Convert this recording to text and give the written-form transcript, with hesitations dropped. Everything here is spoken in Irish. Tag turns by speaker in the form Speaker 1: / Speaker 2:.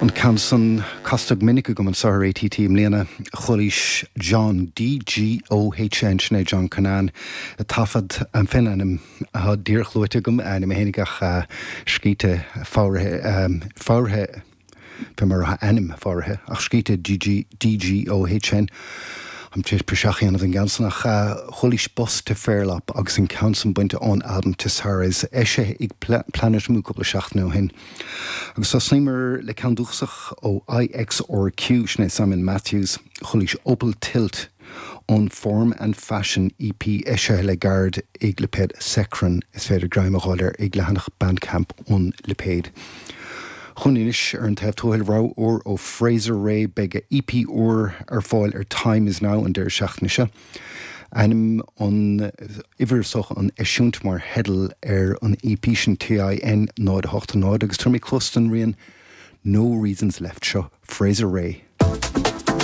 Speaker 1: An ceann san casta go minic agam anseo ar ATT i mbliana. Chualaís John DGOHN, sin é John Cunnane, ag taifead fén ainm atá díreach luaite agam, a ainm fhéinig ach scríte foghraithe, foghraithe fé mar atá a ainm foghraithe, ach scríte DG, DGOHN. Táim tar éis praiseach a dhéanamh den gceann san ach chualaís Bus to Fairlop agus an ceann san bainte ón albam Tessares, eisithe ag Planet Mu cúpla seachtain ó shin. Agus thosnaíomar le ceann dúchasach ó IXRQ, sin é Simon Matthews, chualaís Opal Tilt ón Form and Fashion EP eisithe le gairid ag lipéad Sekran, is féidir greim a dh'fháil air ag leathanach Bandcamp an lipéid. Chugainn anois ar an taobh tuathail, rogha úr ó Fraser Ray, beidh a EP úr ar fáil ar Time Is Now an deireadh seachtaine seo. Ainm an uimhir is dócha an eisiúint mar theideal ar an EP sin TIN 0 8 0 agus tabharfaidh mé cluas don rian No Reasons Left seo Fraser Ray.